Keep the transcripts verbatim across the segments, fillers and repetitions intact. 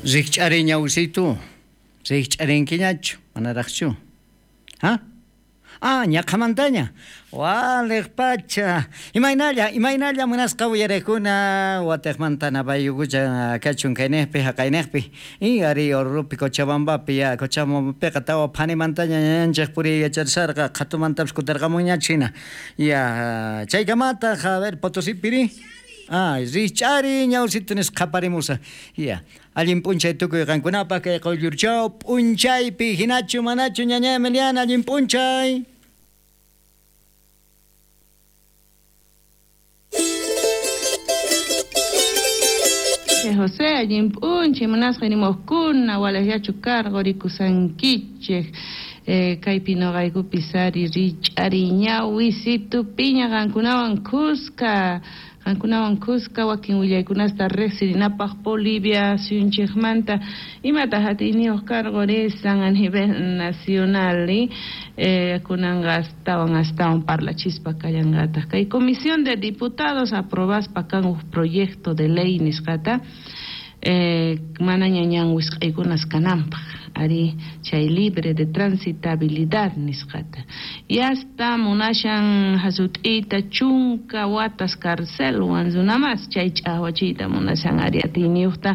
Rikch'ari ñawsitu, rikch'arinkiñachu, manaraqchu. Ha? Ah, ñaqhamantaña. Waliq pacha. Imaynalla, imaynalla munasqa uyarekuna wataqmanta napayukucha kachun kayniqpi haqayniqpi. Y ari Oruropi Cochabambapi ya Cochabambapiqa tawa phanimantaña ñañanchik puriy yacharisarqa qhatumantapis kutirqamunñachu hina. Ya chaykamataq a ver Potosipiri. Ah, rikch'ari ñawsitu nisqa qhaparimusa. Ya. Allin p'unchay tukuy qankunapaq kay quyllurchaw p'unchaypi hinachu manachu ñaña Emiliana allin p'unchay. José allin p'unchay munasqa nimuqkuna walallachu karqu rikusankichik. Eh, kaypi nuqaykupi sari rich'ari ñawisitu piña qankunawan kuska. Qankunawan kuska wakin willaykunasta riqsirinapaq Bolivia suyunchikmanta imataq atiyniyuq karqu risan a nivel nacional eh, kunanqa astawan astawan parlachispa kallanqataq kay comisión de diputados aprobaspa kan uj proyecto de ley nisqata eh, manaña ñan wisq'aykunas kananpaq ari chay libre de transitabilidad nisqata y hasta munashan hasut'ita chunka watas carcelwan runamas chay ch'awachiyta munashan ari atiyniyuqta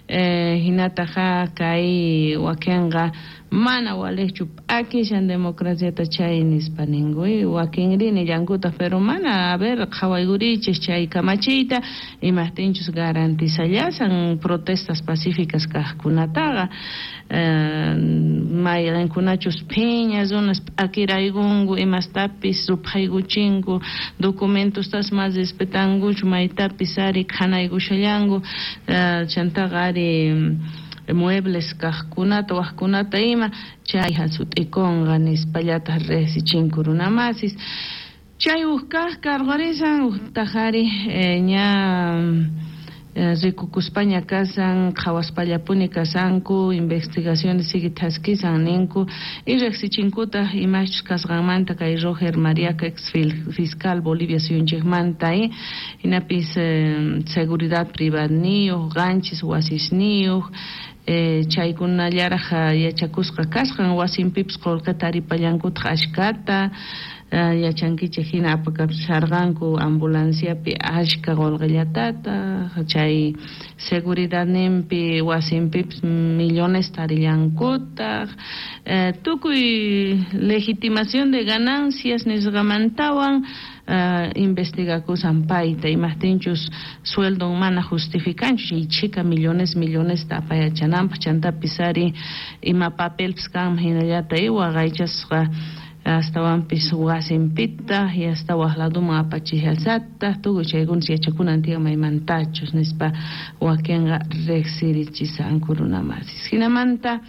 eh, hinataqa kay wakinqa mana waliqchu p'akishan democraciata chay nispa ninku wakinri nillankutaq pero mana a ver qhawaykurichik chay kamachiyta imaqtinchus garantizallasan protestas pacíficas kaqkunataqa eh, mayqinkunachus phiña runas p'akiraykunku imastapis ruphaykuchinku documentostas mas respetankuchu maytapis ari khanaykushallanku eh, chantaqa ari muebles kaqkunata waqkunata ima chay hasut'ikunqa nispallataq riqsichinku runamasis chay uj kaq karqurisan uqtaq ari eh, ña eh, rikukuspaña kasan qhawaspallapuni kasanku investigaciones sigue thaskisan ninku y riqsichinkutaq imachus kasqanmanta kay Roger Mariaca ex fiscal Bolivia suyunchikmanta eh, hinapis eh, seguridad privadniyuq qanchis wasisniyuq Eh, chaykunallaraq yachakusqa kasqan wasinpipis qullqita taripallankutaq ashkata eh, yachankichik hina apakapsarqanku ambulanciapi ashka qullqillatataq chay seguridadninpi wasinpipis millones tarillankutaq eh, tukuy legitimación de ganancias nisqamantawan Uh, investigakusan payta imaqtinchus sueldon mana justificanchu chay chhika millones millonesta apayachananpaq chantapis ari ima papelpis kanman hinallata waqaychasqa astawanpis wasinpita y hasta waq laduman apachishasataq tukuy chaykunas yachakunan tiyan maymantachus nispa wakinqa riqsirichisanku runamasis hinamanta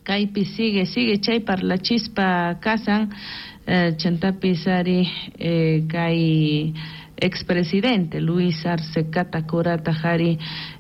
kaypi sigue sigue chay parlachispa kasan eh, chantapis ari eh, kay expresidente Luis Arce Catacora ari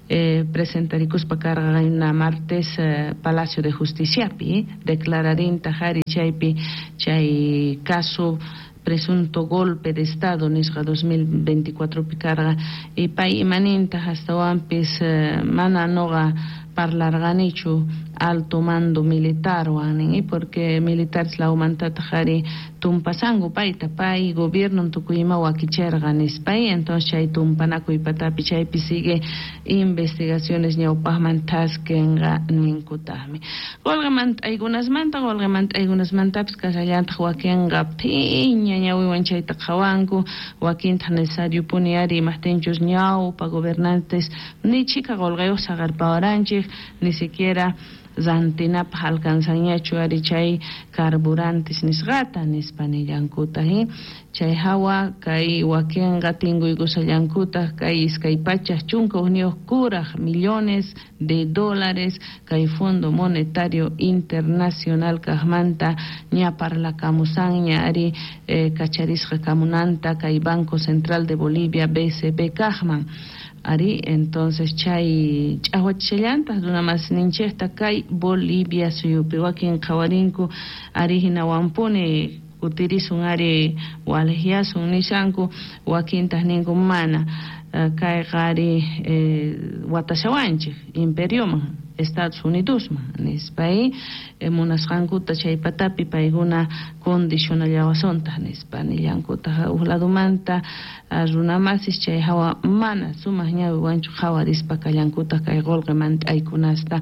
eh, presentarikuspa karqa martes eh, Palacio de Justiciapi eh, declararinta ari chaypi chay caso presunto golpe de estado nisqa dos mil veinticuatro pi karqa y pay imaninta hastawanpis eh, mana noqa parlarqanichu alto mando militar nin porque militares lawmantataq ari tumpasanku payta pay gobierno tukuy ima wakicherqa nispay entonces chay tumpanakuy patapi chaypi sigue investigaciones ñawpaqman thaskenqa ninkutaqmi qullqimant'aykunasmanta qullqimant'aykunasmantapis kasallantaq wakinqa phiña ñawiwan chayta qhawanku wakintaq necesario puni ari imaqtinchus ñawpa gobernantes ni chhika qullqiyuq saqerpawaranchik ni siquiera rantinapaq alcanzanñachu ari chay carburantes nisqata nispa nillankutaq eh? Chay hawa kay wakinqa tinkuykusallankutaq kay iskay pachak chunka hukniyuq kuraq millones de dólares kay Fondo Monetario Internacional kaqmanta ña parlakamusanña ari eh, kacharisqa kamunanta kay Banco Central de Bolivia B C B kaqman ari entonces chay ch'awachishallantaq runamas ninchikta kay Bolivia suyupi wakin qhawarinku ari hinawanpuni kutirisun ari walejyasun nishanku, wakintaq ninku mana kayqa ari watashawanchik imperioman Estados Unidosman nispa munasqankuta chay patapi paykuna condicionallawasuntaj nispa nillankutaq uj ladumanta runamasis chay hawa mana sumaq ñawiwanchu qhawarispa kallankutaq kay qullqi mant'aykunasta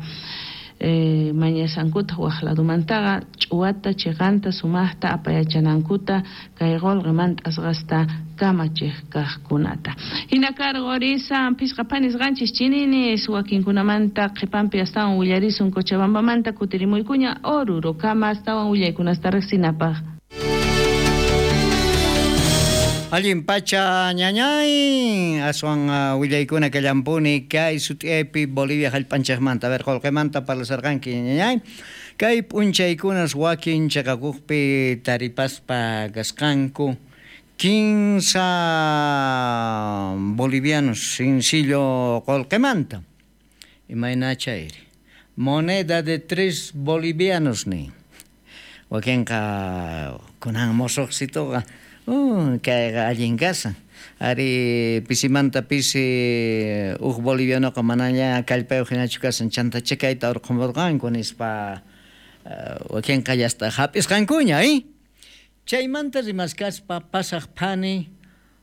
Eh, mañasankuta waj ladumantaqa ch'uwata chiqanta sumaqta apayachanankuta kay qullqi mant'asqasta kamachiq kaqkunata. Hina karqurisa phisqa phanisqanchis chininis wakinkunamanta qhipanpi astawan willarisun Cochabambamanta kutirimuykuña Orurokama astawan willaykunasta riqsinapaq. Allin pacha ñañay aswan uh, willaykuna kallampuni kay sut'iaypi Bolivia hallp'anchikmanta. A ver, qullqimanta parlasarqanki ñañay. Kay p'unchaykunas wakin chaqakuqpi taripaspa kasqanku kinsa bolivianos sencillo qullqimanta. Imayna chayri? Moneda de tres bolivianos ni. Wakinqa kunan mosuqsituqa Uh, kayqa allin kasan. Ari pisimanta pisi uj bolivianoqa manaña kallpayuq hinachu kasan chantacha kayta urqumurqanku nispa uh, wakinqa yasta hap'isqankuña, eh? Chaymanta rimaskaspa pasaq phani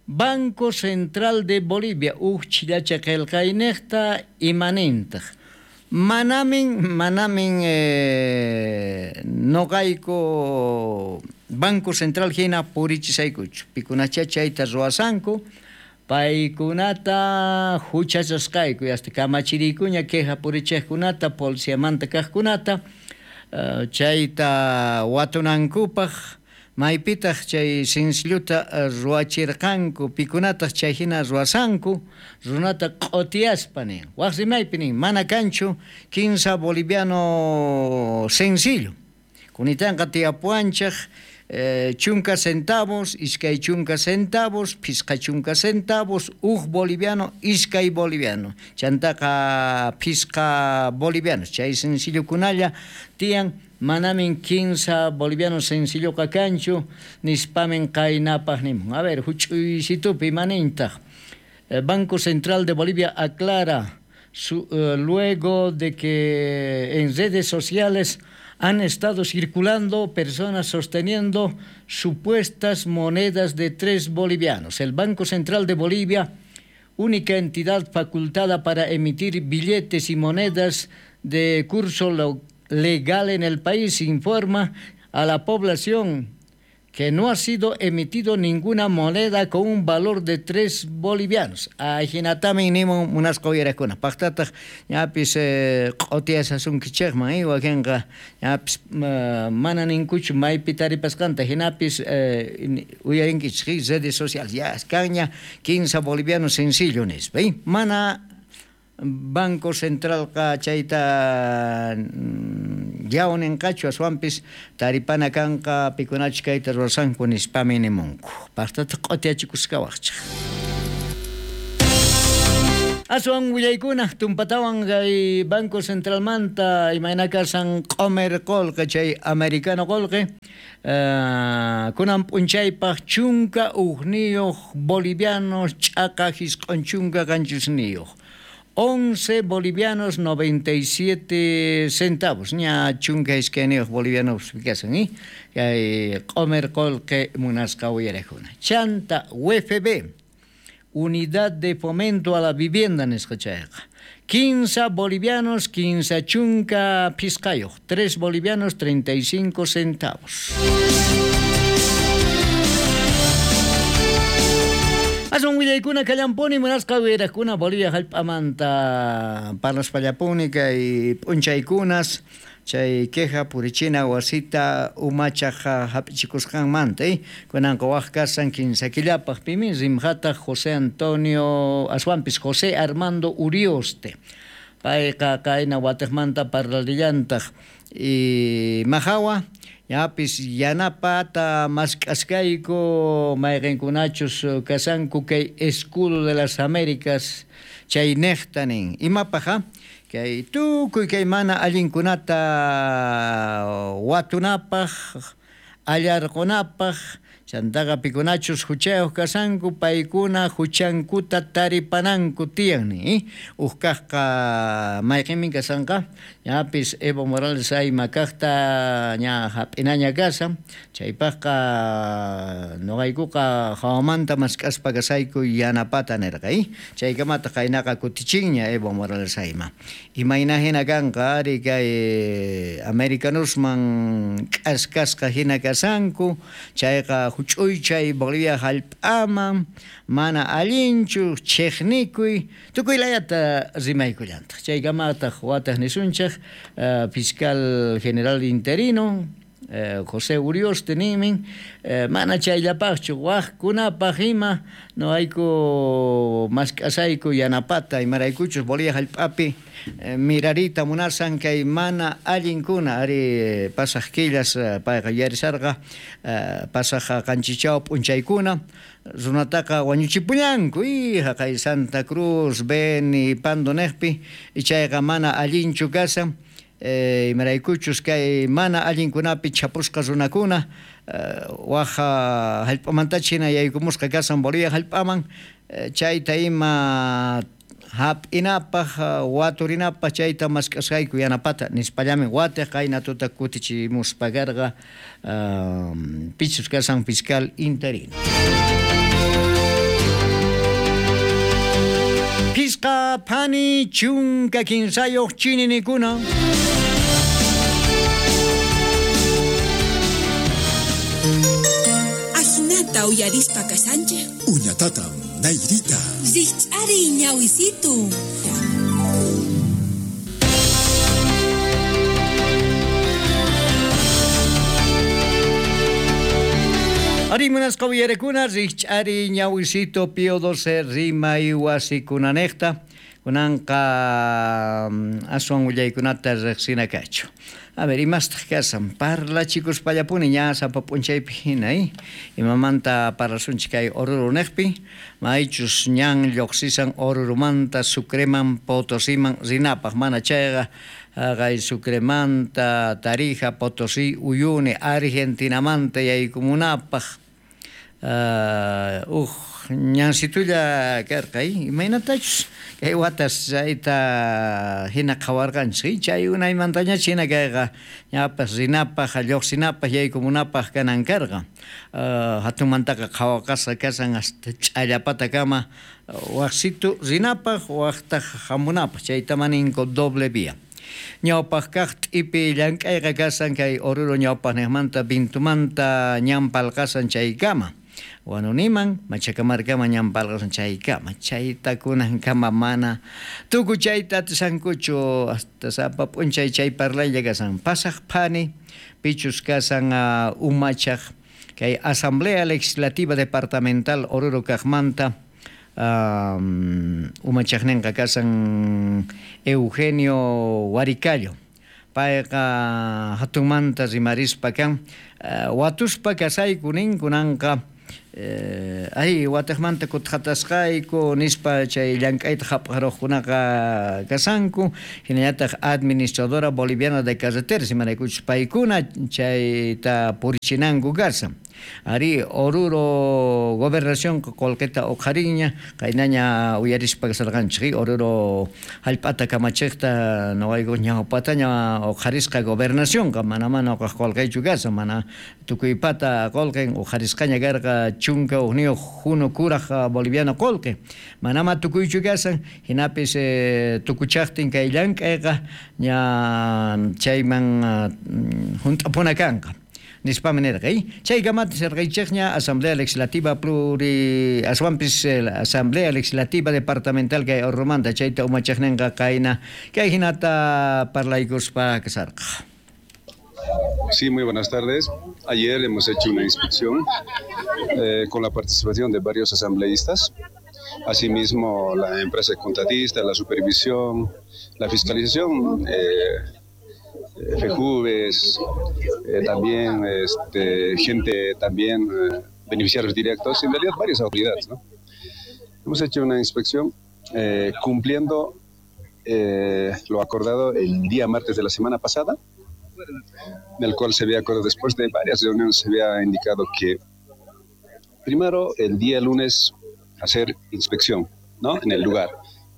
Banco Central de Bolivia uj chillacha qillqayniqta imanintaq. Manamin, manamin eh, noqayku Banco Central hina purichisaykuchu. Pikunacha chayta ruwasanku, paykunata huchachasqayku, hasta kamachiriykuña queja purichiqkunata, policiamanta kaqkunata, uh, chayta watunankupaq, maypitaq chay sencilluta ruwachirqanku, pikunataq chay hina ruwasanku, runata q'otiyaspa nin. Waq rimaypi nin, mana kanchu kinsa boliviano sencillo. Kunitanqa tiyapuwanchik eh, chunka centavos, iskay chunka centavos, phisqa chunka centavos, uj boliviano, iskay boliviano. Chantaqa phisqa bolivianos. Chay sencillokunalla tiyan manamin kinsa boliviano sencilloqa kanchu nispamin qaynapaq nimun. A ver, huch'uysitupi manintaq. Banco Central de Bolivia aclara su, eh, luego de que en redes sociales han estado circulando personas sosteniendo supuestas monedas de tres bolivianos. El Banco Central de Bolivia, única entidad facultada para emitir billetes y monedas de curso legal en el país, informa a la población que no ha sido emitido ninguna moneda con un valor de tres bolivianos. Ajinatamin nimun munasqa uyarakuna. Paqtataq ñapis q'utiyasasunkichikman, wakinqa ñapis mana ninkuchu maypi taripasqanta, hinapis uyarinkichik redes sociales. Ya kanña kinsa bolivianos sencillo nispa. Mana Banco Centralqa chayta yawninqachu aswanpis taripana kanqa pikunachu kayta ruwasanku nispami nimunku. Paqtataq q'utiyachikusqawaqchik. Aswan willaykuna tumpatawan kay Banco Centralmanta imayna kasan q'umir qullqi chay americano qullqi uh, kunan p'unchaypaq chunka ujniyuq bolivianos ch'aqa hisq'un chunka qanchisniyuq. once bolivianos noventa y siete centavos. Ña chunka iskayniyuq bolivianos kasan, eh? Kay q'umir qullqi munasqa uyarakuna. Chanta U F B, Unidad de Fomento a la Vivienda nisqa chayqa. Quince bolivianos, quince chunka phisqayuq, tres bolivianos treinta y cinco centavos. Aswan willaykuna kallampuni munasqa uyarakuna Bolivia hallp'amanta parlaspallapuni kay p'unchaykunas chay queja purichina wasita umachaq hap'ichikusqanmanta, eh? Kunanqa waq kasan kinsa killapaq pimin rimqataq José Antonio aswanpis José Armando Urioste. Payqa kayna watiqmanta parlarillantaq y mahawa ñapis yanapata mask'askayku mayqinkunachus kasanku kay Escudo de las Américas chay niqta nin. Imapaq kay tukuy kay mana allinkunata watunapaq allarqunapaq chantaqa pikunachus huchayuq kasanku paykuna huchankuta taripananku tiyan ni uj kaqqa mayqinmin kasanqa ñapis Evo Morales ayma kaqta ña hap'inaña kasan chaypaqqa nuqaykuqa hawamanta mask'aspa kasayku yanapata nirqa chaykamata qaynaqa kutichinña Evo Morales ayma imayna hina kanqa ari kay americanosman k'askasqa hina kasanku chayqa huch'uychay Bolivia hallp'aman mana allinchu chiqnikuy tukuy layata rimaykullantaq chaykamataq wataq nisunchik uh, fiscal general interino eh, José Urioste ninmin eh, mana chayllapaqchu waqkunapaq ima noqayku mask'asayku yanapata imaraykuchus Bolivia hallp'api eh, mirarita munasan kay mana allinkuna ari pasaq killas payqa yuyarisarqa eh, pasaq qanchichaw p'unchaykuna runataqa wañuchipuñanku y haqay Santa Cruz, Beni, Pando niqpi ichayqa mana allinchu kasan eh, imaraykuchus kay mana allinkunapi chapusqa runakuna eh, waja hallp'amantacha hina yaykumusqa kasan Bolivia hallp'aman eh, chayta ima hap'inapaq waturinapaq chayta mask'asqayku yanapata nispallamin watiq qayna tuta kutichimuspa karqa um, pichus kasan fiscal interino. Pisqa phani chunka kinsayuq chininikuna. Ajinata uyarispa kasanchej. Uñatatam nayrita. Rich'ari ñawisitu. Ari munasqa uyarekuna rich'ari ñawisito Pío doce rimay wasikunanejta kunanqa aswan willaykunata riqsina kachu. A ver, imastaq kasan parlachikuspallapuni ña sapa p'unchaypi hina eh? Imamanta parlasunchik kay Oruro niqpi maychus ñan lluqsisan Orurumanta Sucreman Potosiman rinapaq mana chayqa haqay Sucremanta Tarija Potosí Uyuni Argentinamanta yaykumunapaq Uh, uj ñansitulla karqa imaynatachus kay watas chayta hina qhawarqanchik chay unaymantañach hina kayqa ñapas rinapaq lluqsinapaq yaykumunapaq kanan karqa uh, hatunmantaqa qhawaqasqa kasan hasta ch'allapatakama waqsitu rinapaq waqtaq hamunapaq chayta maninku doble vía. Ñawpaq kaq t'ipi llank'ayqa kasan kay Oruro ñawpaqniqmanta Vintumanta ñan palqasan chaykama Wanuniman Machacamarkama ñan palqasan chaykama chayta kunankama mana tukuy chayta atisankuchu hasta sapa p'unchay chay parlaylla kasan pasaq phani pichus kasan uh, umachaq kay Asamblea Legislativa Departamental Oruro kaqmanta Um, umachaqninqa kasan Eugenio Huaricallo payqa hatunmanta rimarispa kan uh, watuspa kasayku nin kunanqa eh, ay watiqmanta kutqatasqayku nispa chay llank'ayta hap'aruqkunaqa kasanku hinallataq administradora boliviana de carreteras imaraykuchus paykuna chayta purichinanku kasan. Ari Oruro gobernación qullqita uqhariña qaynaña uyarispa kasarqanchik Oruro hallp'ata kamachiqta nuqayku ñawpataña uqharisqa gobernacionqa mana mana uqaq qullqaychu kasan mana tukuypata qullqin uqharisqaña karqa chunka hukniyuq hunu kuraq boliviano qullqi manama tukuychu kasan hinapis eh, tukuchaqtin kay llank'ayqa ña chayman hunt'apuna kanqa. Nispami nirqa chaykamata serqaychikña Asamblea Legislativa Pluri aswanpis Asamblea Legislativa Departamental kay Orurumanta chayta umachaqninqa qayna kay hinata parlaykuspa kasarqa. Sí, muy buenas tardes. Ayer hemos hecho una inspección eh, con la participación de varios asambleístas. Asimismo, la empresa contratista, la supervisión, la fiscalización, eh, FEJUVES, eh, también este, gente, también eh, beneficiarios directos, en realidad varias autoridades, ¿no? Hemos hecho una inspección eh, cumpliendo eh, lo acordado el día martes de la semana pasada. en el cual se había acordado, después de varias reuniones, se había indicado que primero el día lunes hacer inspección, ¿no?, en el lugar.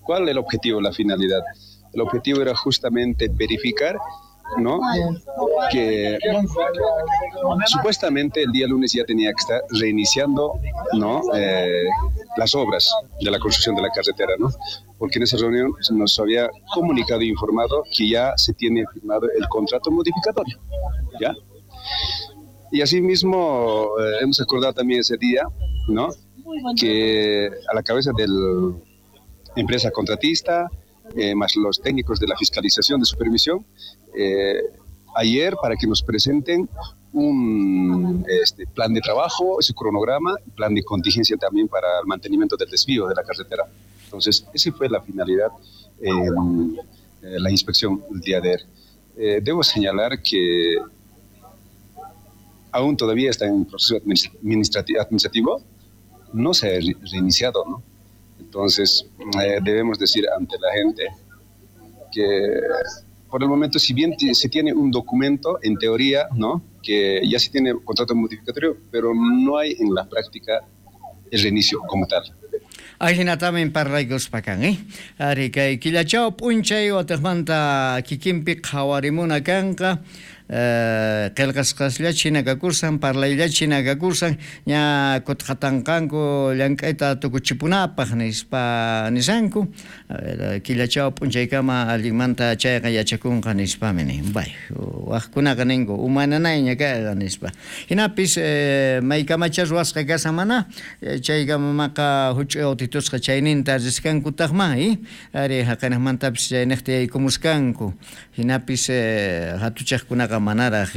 ¿Cuál es el objetivo, la finalidad? El objetivo era justamente verificar, ¿no?, que supuestamente el día lunes ya tenía que estar reiniciando, ¿no?, eh, las obras de la construcción de la carretera, ¿no?, porque en esa reunión se nos había comunicado e informado que ya se tiene firmado el contrato modificatorio, ¿ya? Y asimismo eh, hemos acordado también ese día, ¿no?, que a la cabeza de la empresa contratista, eh, más los técnicos de la fiscalización de supervisión, eh, ayer para que nos presenten un este, plan de trabajo, ese cronograma, plan de contingencia también para el mantenimiento del desvío de la carretera. Entonces, esa fue la finalidad, eh, la inspección el día de ayer. Eh, debo señalar que aún todavía está en proceso administrativo, administrativo, no se ha reiniciado, ¿no? Entonces, eh, debemos decir ante la gente que por el momento, si bien se tiene un documento, en teoría, ¿no?, que ya se tiene contrato modificatorio, pero no hay en la práctica el reinicio como tal. Ajinatamin parlaykuspakan, eh? Ari kay killachaw p'unchay wataqmanta kikinpi qhawarimuna kanqa, qillqasqaslla chinakakursan, parlaylla chinakakursan, ña kutqatanqanku llank'ayta tukuchipunapaq nispa nisanku, killachaw p'unchaykama allinmanta chayqa yachakunqa nispami nin. Bay, waqkunaqa ninku umananayña kayqa nispa. Hinapis maykamacha ruwasqa kasan mana, chaykamamaqa huch'uy autitusqa chayninta risqankutaqma, eh? Ari haqanaqmantapis chayniqta yaykumuskanku. Hinapis hatuchaqkunaqa manaraq,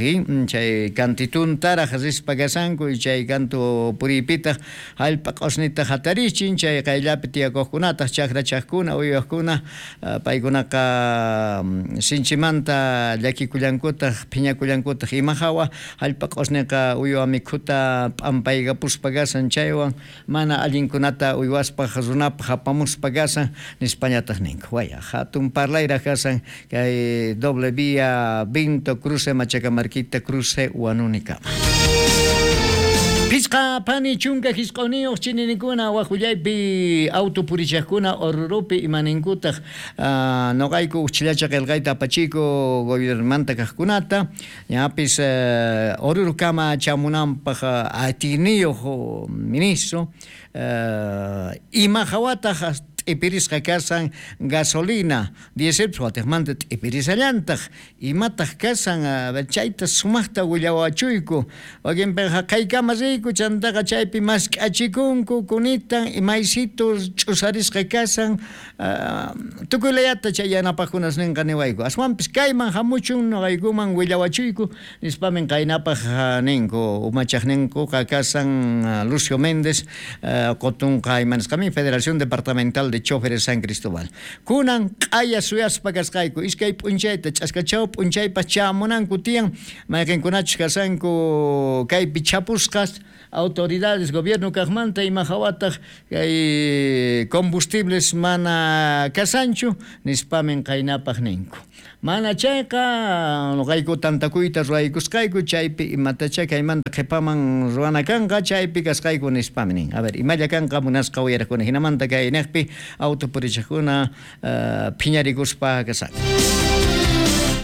chay kantituntaraq rispa kasanku, chay kantu puriypitaq hallp'a q'usnita hatarichin, chay qayllapi tiyakuqkunataq chakrachaqkuna uywaqkuna paykunaqa sinchimanta llakikullankutaq phiñakullankutaq ima hawa hallp'a q'usniqa uywa mikhuta p'ampaykapuspa kasan chaywan mana allinkunata uywaspaq runapaq apamuspa kasan nispañataq ninku. Waya hatun parlayraq kasan kay doble vía Vinto cruce Machacamarquita cruce Huanunicama. Pisqa pani chunka hisq'uniyuq chininikuna waqullaypi auto purichaqkuna Orurupi imaninkutaq noqayku uchllacha qillqayta apachiku gobiernomanta kaqkunata ñapis Orurukama chamunanpaq atiyniyuq ministro ima hawataq t'ipirisqa kasan gasolina diésel watiqmanta t'ipirisallantaq imataq kasan chayta sumaqta willawachuyku wakinpiqa qaykama riyku chantaqa chaypi mask'achikunku kunitan imaysitu ch'usarisqa kasan tukuy layata chay yanapaqkunas ninqa niwayku aswanpis kayman hamuchun noqaykuman willawachuyku nispamin qaynapaq ninku umachaqninkuqa kasan Lucio Méndez qotunqa imanisqamin Federación Departamental de Choferes San Cristóbal. Kunan q'aya suyaspa kasqayku iskay p'unchayta ch'askachaw p'unchaypas chamunanku tiyan mayqinkunachus kasanku kaypi chapusqas autoridades gobierno kaqmanta ima hawataq kay combustibles mana kasanchu nispamin qaynapaq ninku. Mana chayqa noqayku tantakuyta ruwaykusqayku chaypi imatacha kaymanta qhipaman ruwana kanqa chaypi kasqayku nispami nin. A ver, imalla kanqa munasqa uyaraqkuna hinamanta kayniqpi auto purichaqkuna phiñarikuspa kasanku.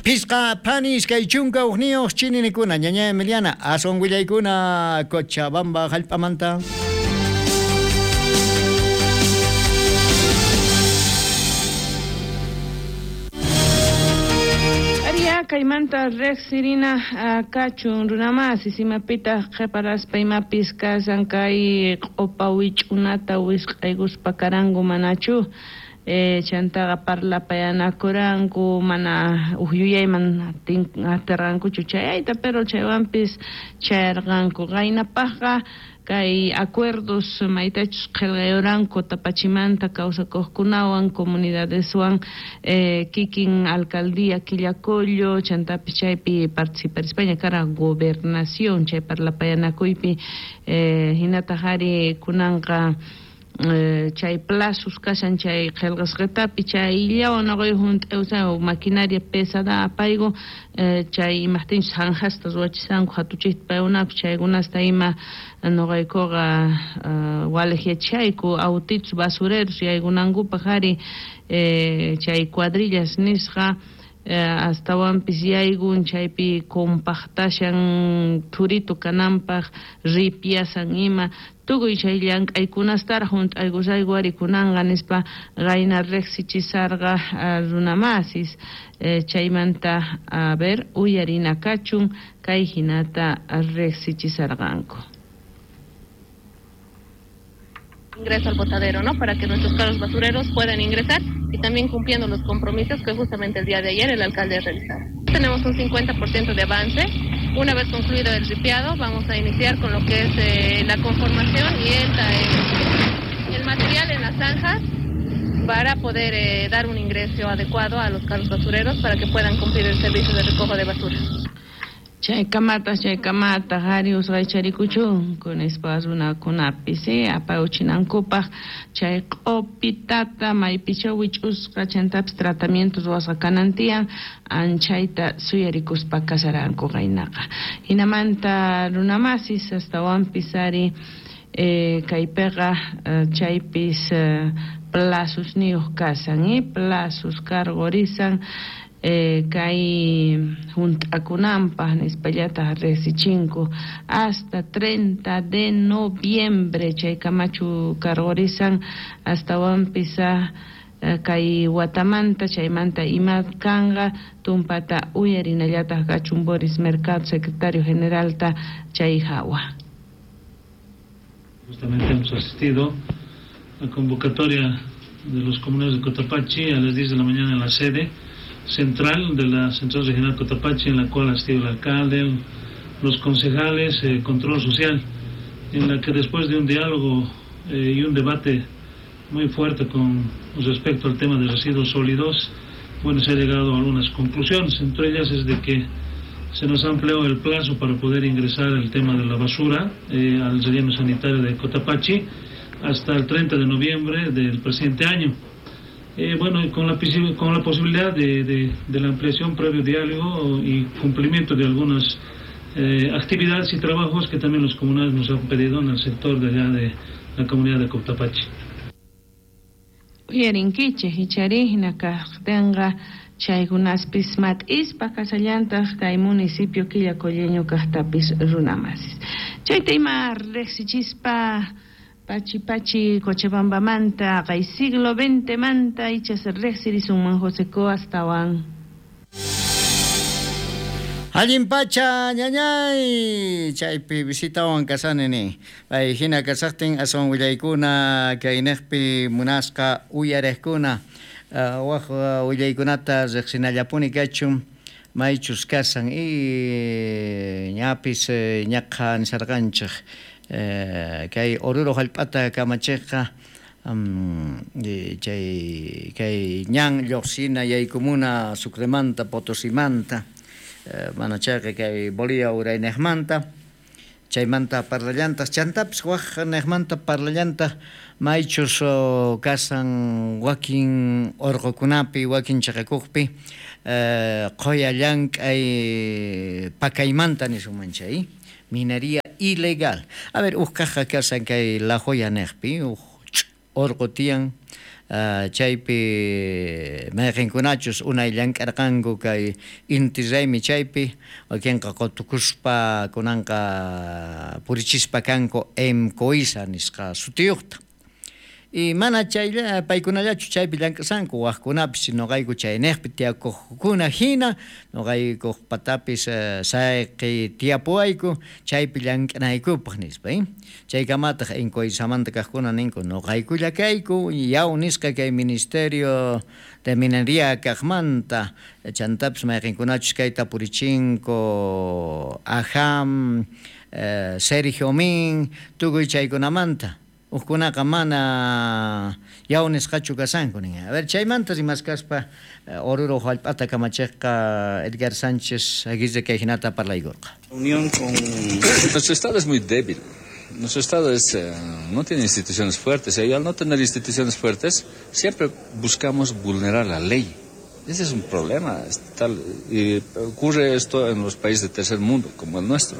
Pisqa pani iskay chunka hukniyuq chininikuna ñaña Emiliana aswan willaykuna Cochabamba hallp'amanta. Kaymanta riqsirina kachun runamasi simapitaq qhiparaspa imapis kasan kay q'upa wich'unata wisq'aykuspa karanku manachu eh, chantaqa parlapayanakuranku mana uj yuyayman atirqankuchu chayayta pero chaywanpis chayarqanku qaynapaqqa kay acuerdos maytachus qillqayuranku Tapachimanta kawsakuqkunawan comunidadeswan eh, kikin alcaldía Quillacollo chantapis chaypi participarispaña kara gobernación chay parlapayanakuypi eh, hinataq ari kunanqa Chay plazos kashan chay qillqasqitapi chayllawan nuqayku hunt'awsan maquinaria pesada apayku chay imaqtinchus zanjasta ruwachisanku hatuchikta paykunapi chaykunasta ima nuqaykuqa waliqyachayku autitos basureros yaykunankupaq ari chay cuadrillas nisqa astawanpis yaykun chaypi compactashan thurito kananpaq ripiasan ima tukuy chay llank'aykunastaraq hunt'aykusayku ari kunanqa nispa qayna riqsichisarqa runamasis chaymanta a ver uyarina kachun kay hinata riqsichisarqanku. Ingreso al botadero, ¿no? Para que nuestros carros basureros puedan ingresar y también cumpliendo los compromisos que justamente el día de ayer el alcalde realizaba. Tenemos un cincuenta por ciento de avance. Una vez concluido el ripiado, vamos a iniciar con lo que es eh, la conformación y el, el, el material en las zanjas para poder eh, dar un ingreso adecuado a los carros basureros para que puedan cumplir el servicio de recojo de basura. Chay kamata, chay kamata, hari usqaycharikuchunku nispa runakunapis apawchinankupaq chay q'upitata maypicha wich'usqa chantapis tratamiento ruwasqa kanan tiyan anchayta suyarikuspa kasaranku qaynaqa. Hinamanta runamasis astawanpis ari eh, kaypiqa chaypis eh, plazosniyuq kasan eh, plazos cargorisan Eh, kay hunt'akunanpaq nispallataq riqsichinku hasta treinta de noviembre chay kamachu cargorisan astawanpis kay watamanta chaymanta ima kanqa tumpata uyarinallataq kachun Boris Mercado secretario generalta chay hawa. Justamente hemos asistido a convocatoria de los comuneros de Cotapachi a las diez de la mañana en la sede central de la Central Regional Cotapachi, en la cual ha asistido el alcalde, los concejales, eh, control social, en la que después de un diálogo eh, y un debate muy fuerte con respecto al tema de residuos sólidos, bueno, se ha llegado a algunas conclusiones. Entre ellas es de que se nos amplió el plazo para poder ingresar el tema de la basura eh, al relleno sanitario de Cotapachi hasta el treinta de noviembre del presente año. Eh, bueno, con la, con la posibilidad de, de, de la ampliación previo diálogo y cumplimiento de algunas eh, actividades y trabajos que también los comunales nos han pedido en el sector de allá de la comunidad de Cotapachi. Uyarinkichej ichari hinakaqtinqa chaykunaspis mat'ispa kasallantaq kay municipio Quillacolleño kaqtapis runamasis. Chayta ima riqsichispa Pachi Pachi Cochabambamanta kay siglo veinte manta ichas riqsirisunman José Coastawan. Allin pacha ñañay chaypi visitawan kasani ni pay hina kasaqtin aswan willaykuna kayniqpi munasqa uyariqkuna waq willaykunata riqsinallapuni kachun maychus kasan y ñapis ñaqa nisarqanchik kay Oruro hallp'ata kamachiqqa chay kay ñan lluqsina yaykumuna Sucremanta Potosimanta mana chayqa kay Bolivia urayniqmanta chaymanta parlallantaq chantapis waq niqmanta parlallantaq maychus kasan wakin urqukunapi wakin chaqakuqpi qhuya llank'ay pakaymanta nisunman chay minería ilegal. A ver, uj kaqqa kasan kay La Joya niqpi uj urqu tiyan Uh, chaypi mayqinkunachus unay llank'arqanku kay inti raymi chaypi wakinqa qutukuspa kunanqa purichispa kanku Emcoisa nisqa sutiyuqta. Y mana chaylla paykunallachu chaypi llank'asanku waqkunapis nuqayku chayniqpi tiyakuqkuna hina nuqaykuq patapis uh, sayqi tiyapuwayku chaypi llank'anaykupaq nispa eh? Chaykamataq Encoisamanta kaqkuna ninku nuqaykulla kayku yaw nisqa kay Ministerio de Minería kaqmanta chantapis mayqinkunachus kayta purichinku Ajam eh, Sergio Min tukuy chaykunamanta Ujkunaqa mana yaw nisqachu kasanku nin. A ver, chaymanta rimaskaspa Oruro hallp'ata kamachiqqa Edgar Sánchez Aguirre kay hinata parlaykurqa. Unión con nuestro estado es muy débil. Nuestro Estado es, eh, no tiene instituciones fuertes y al no tener instituciones fuertes siempre buscamos vulnerar la ley. Ese es un problema. Es tal, y ocurre esto en los países de tercer mundo, como el nuestro.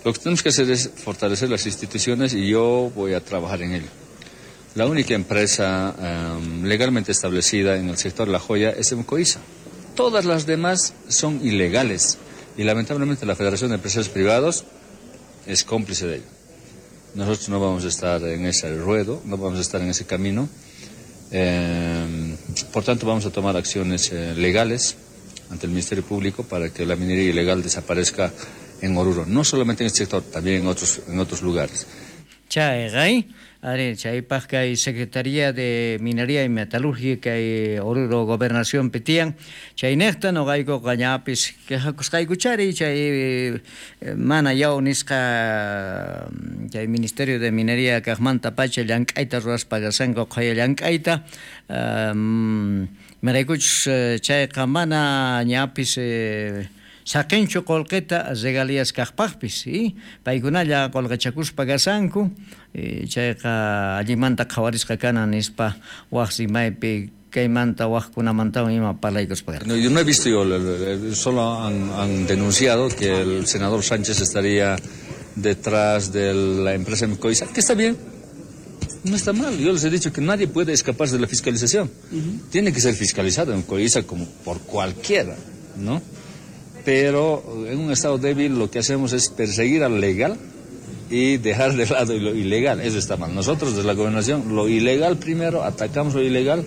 Lo que tenemos que hacer es fortalecer las instituciones y yo voy a trabajar en ello. La única empresa eh, legalmente establecida en el sector de la joya es Emcoisa. Todas las demás son ilegales y lamentablemente la Federación de Empresarios Privados es cómplice de ello. Nosotros no vamos a estar en ese ruedo, no vamos a estar en ese camino. Eh, por tanto, vamos a tomar acciones eh, legales ante el Ministerio Público para que la minería ilegal desaparezca en Oruro, no solamente en este sector, también en otros, en otros lugares. Chayqa, ari chaypaq kay Secretaría de Minería y Metalurgia kay Oruro Gobernación tiyan chaynejta noqaykuqa ñapis quejakusqaykuchari chay mana yaw nisqa chay Ministerio de Minería kaqmanta pacha llank'ayta ruwaspa kashanku qhaya llank'ayta um, maraykuchus chayqa mana ñapis eh, saqinchu qolqeta regalías kaqpaqpis y paykunalla qolqachakuspa kasanku chayqa allimanta qhawarisqa kanan nispa waq rimaypi kaymanta waqkunamantawan ima parlaykuspa. No, yo no he visto yo, solo han, han denunciado que el senador Sánchez estaría detrás de la empresa Emcoisa, que está bien, no está mal. Yo les he dicho que nadie puede escaparse de la fiscalización. Uh-huh. Tiene que ser fiscalizado Emcoisa como por cualquiera, ¿no? Pero en un estado débil lo que hacemos es perseguir al legal y dejar de lado lo ilegal. Eso está mal. Nosotros desde la gobernación, lo ilegal primero, atacamos lo ilegal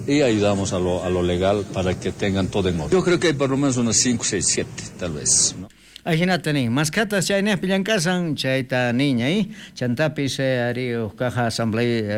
y ayudamos a lo, a lo legal para que tengan todo en orden. Yo creo que hay por lo menos unos cinco, seis, siete, tal vez, ¿no? Ajinata nin, maskatas chaynejpi llank'asan chayta niña, chantapis ari uj caja asamblea